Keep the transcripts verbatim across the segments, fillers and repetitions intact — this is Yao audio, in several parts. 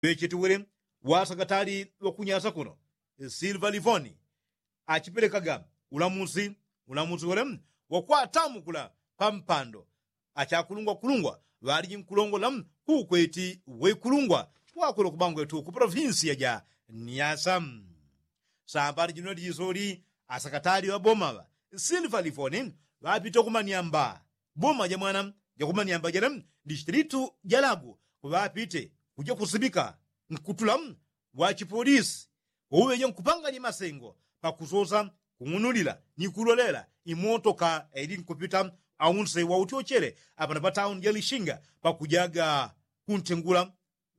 Pechituwile wasakatali wakunyasa kuno silva livoni achipelekaga ulamusi ulamusi wele wakwatamukula pampando achakulungwa kulungwa ŵaliji nkulongola kukweti weikulungwa wakwele kubangwetu ku polofinsiya ja nyasa. Sambali jino lisoli asakatali ŵaboma ŵa silva livoni ŵapite kumanyamba boma ja mwana ja kumanyamba jele distilitu ja lagu ŵapite kuja kusibika nkutula wa chipolisi wauŵeje nkupanganya masengo pakusosa kung'unulila ni kulolela imotoka yaili nkupita aunse wa utyochele apano pa tauni ja lishinga pakujaga kuntengula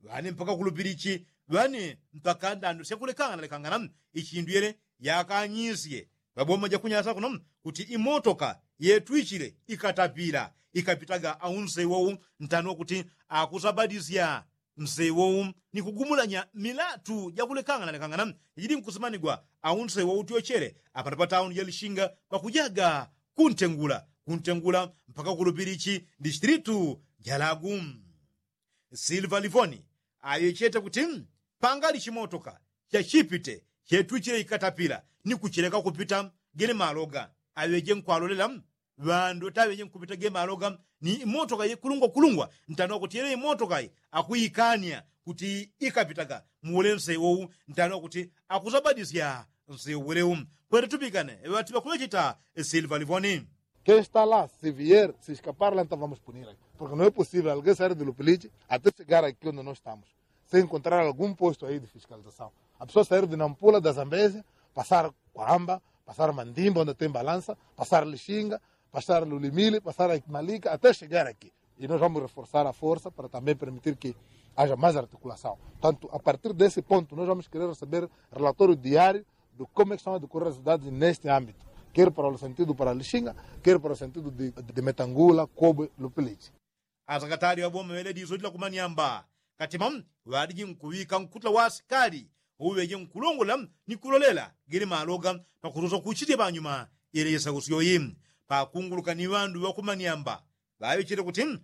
ŵane mpaka kulupilichi ŵane mpaka ndando syakulekangana lekangana ichindu yele yakanyisye ŵaboma ja kunyasa kuno kuti imotoka yetwichile ikatapila ikapitaga aunse wou ntano kuti akusabadisya nsewo ni kugumulanya milatu jakulekangana lekangana jajili nkusimanigwa aunsewo utyochele apano pa tauni ja lishinga pakujaga kuntengula kuntengula mpaka kulupilichi distilitu ja lagu. Silva livoni ayo chete kuti pangali chimotoka chachipite chetwichile ikatapila ni kuchileka kupita gele maloga aweje nkwalolela ŵandu taŵeje nkupita ge maloga ni imotoka yekulungwa kulungwa ntano kuti yele imotoka yi akuikania kuti ikapitaga muwule nsewo wu ntano kuti akusabadisya nsewo wele wu. Kwete tupikane ŵati ŵakuŵechita silva livoni. Kei sta la si vier si skapar la nta vamos punir porke no e posivel alguei sair de lupiliji ate chegar aki onde no stamus se enkontrar algun posto ai de fiskalizasaun a pesoa sair de nampula da zambezia pasar kwamba pasar mandimba onde tem balansa pasar lishinga pasar lulimili pasar malika ate chegar aki. I nos vamos reforsar a forsa para tambem permitir ki aja mas artikulasaun tanto a partir desi ponto nos vamos querer receber relatorio diario de como e que são a decorrer asidades neste ambito ker para o sentido para lishinga ker para o sentido de metangula kobe lupiliji. Asakatali ŵaboma ŵele diso dila kumanyamba katima ŵaliji nkuŵika nkutula wa asikali uŵeje nkulongola ni kulolela gele maloga pakusosa kuchitye panyuma yele isausyo yi pakunguluka ni ŵandu ŵakumanyamba ŵaŵechete kuti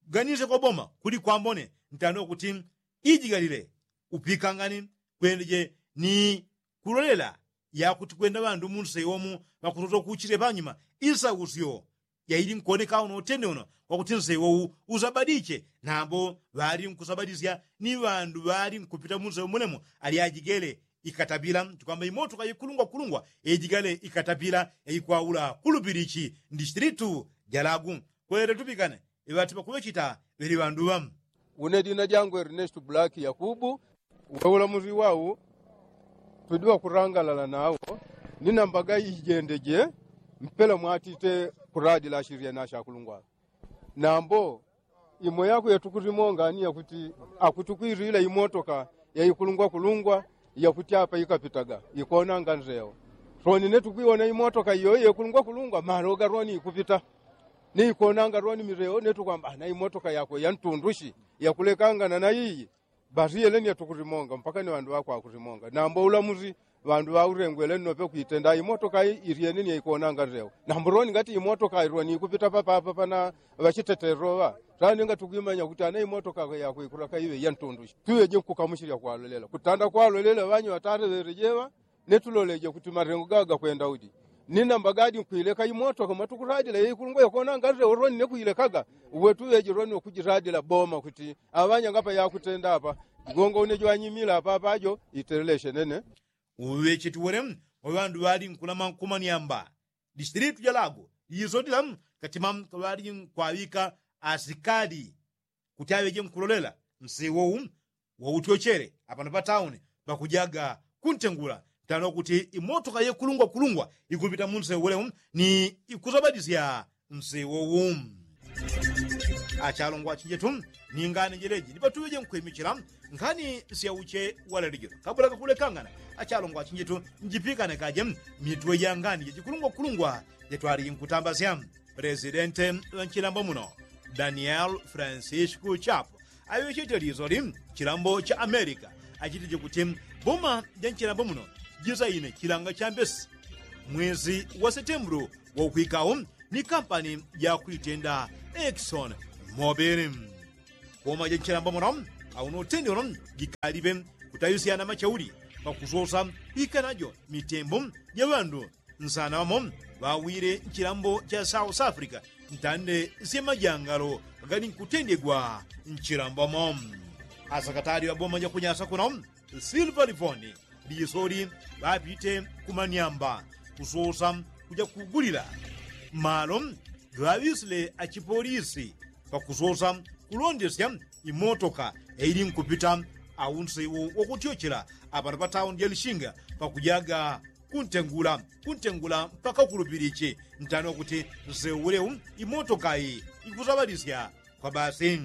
kuganisya kwa boma kuli kwambone ntano kuti ijigalile upikangani kwendeje ni kulolela yakuti kwenda ŵandu munsewo mu ŵakusosa kuchitye panyuma isausyo yaili nkuwoneka uno utende uno wakuti nsewo wu usabadiche nambo ŵali nkusabadisya ni ŵandu ŵali nkupita munsewo mulemo ali ajigele ikatapila tikwamba imotoka yekulungwa kulungwa ejigale ikatapila yaikwaula kulupilichi ndistilitu ja lagu. Kwete tupikane iŵati ŵakuŵechita ŵeli ŵandu ŵa. Une dina dyangu ernesto black yakubu. Weula musi wau tudi wakurangalala nawo ni nambaga ijendeje mpela mwatite kuradila ashirya na ashakulungwa nambo imo yako yatukusimongani yakuti akutukwirila imotoka yaikulungwa kulungwa yakuti apa ikapitaga ikonanga nzeo soni netukwiwona imotoka iyo yekulungwa kulungwa maloga roni ikupita ni ikonanga roni mireo netukwamba na imotoka yako yantundushi yakulekangana na iyi. Basi yeleni yatukusimonga mpaka ni ŵandu ŵakwakusimonga nambo ulamusi ŵandu ŵaurengwele nnope kwitenda imotoka iryeni ni yaikonanga nzeo nambo roni ngati imotoka ironi ikupita papapa pana ŵachiteteroŵa tani ngatukwimanya kuti ana imotoka yako ikuraka iŵe yantundushi twiŵeje nkukamushilya kwalolela kutanda kwalolela ŵanyu ŵatareŵerejeŵa netuloleje kuti marengo gaga kwenda udi ni namba gadi nkwileka imotoka mwatukuradila yeikulungwa yakonanga nzeo roni nekwilekaga uwe tuŵeje roni wakujiradila boma kuti aŵanyanga apa yakutenda apa igongo une jwanyimila apa apajo iteleleshe nene. Uŵecheti wele wa ŵandu ŵali nkulama nkumanyamba distilitu ja lago lijiso dila katima ŵali nkwaŵika asikali kuti aŵeje nkulolela nsewo wu wautyochele apano pa tauni pakujaga kuntengula ntano kuti imotoka yekulungwa kulungwa ikupita munsewo wele wu ni ikusabadisya nsewo wu. Achalongwa achinjetu ni ngani jeleji ndipatuŵeje nkwimichila ngani syauche walelejelo kabula kakulekangana achalongwa achinjetu njipikane kaje mitwe ja ngani jachikulungwa kulungwa jatwaliji nkutambasya. Presidente ŵa nchilambo muno daniel francisco chapo aŵechete lizoli chilambo cha amerika achitije kuti boma ja nchilambo muno jisaine chilanga cha mbesi mwezi wa setembulu waukwikawo ni kampani ja kwitenda exon mobili. Boma ja nchilambo muno Auno utende uno gikalipe kutawisyana machauli pakusosa pikanajo mitembo ja ŵandu nsana ŵamo ŵawile nchilambo cha south africa ntande sya majangalo gali nkutendegwa nchilambo mo. Asakatali ŵaboma ja kunyasa kuno silva livoni lisoli ŵapite kumanyamba kusosa kuja kugulila malo ŵaŵisile achipolisi pakusosa kulondesya imotoka eili nkupita aunsewu wakutyochela apano pa taundi ya lishinga pakujaga kuntengula kuntengula mpaka kulupilichi ntani wakuti nsewu ulewu imotoka iyi ikusaŵalisya kwa basi.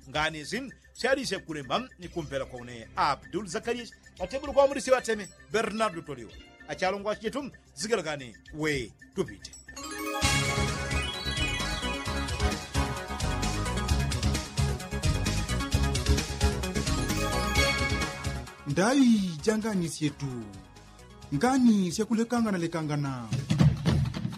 Ngani isi syalisya kulemba ni kumpela kwa une abdul zakariya patebulo kwa mulisi ŵateme bernardo toliwa achalongwa chitu zigalagani we tupite. Ndaŵi ja ngani syetu ngani syakulekangana lekangana.